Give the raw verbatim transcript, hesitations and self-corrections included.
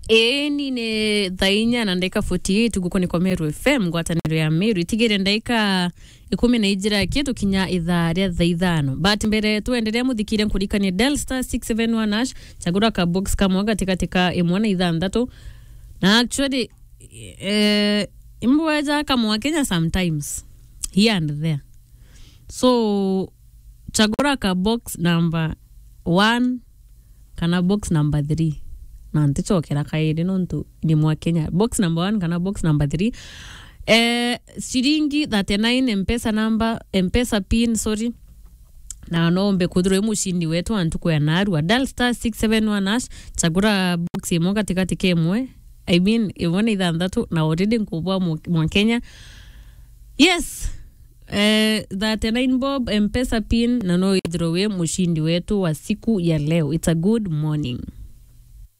Eni ni thaa inya na ndagika forty-eight guku ni kwa Meru F M, ngwataniro ya Meru. Itigire ndagika ikumi na ijira kitu kinya ithaa ria thaa ithano. But mbere tuendelee, muthikire, nkurikanie dial star six seven one hash, chagura ka box kamwe gatigati ka imwe na ithanthatu. Na actually, eh, imbweja kamwe Kenya sometimes, here and there. So, chagura ka box number one kana box number three. Na ntichokera kairi nontu ni mwa Kenya. Box number one kana box number three. Eh, ciringi thirty-nine, M-Pesa number, M-Pesa pin, sorry. Na no umbe kwithirwa wi mucindi wetu wa ntuku ya narua. Dial star six seven one hash, chagura box imwe gatigati ka imwe. I mean, imwe na ithanthatu, na already nkubwa mwa, mwa Kenya. Yes. Eh, thirty-nine bob, M-Pesa pin, na no withirwe wi mucindi wetu wa siku ya leo. It's a good morning.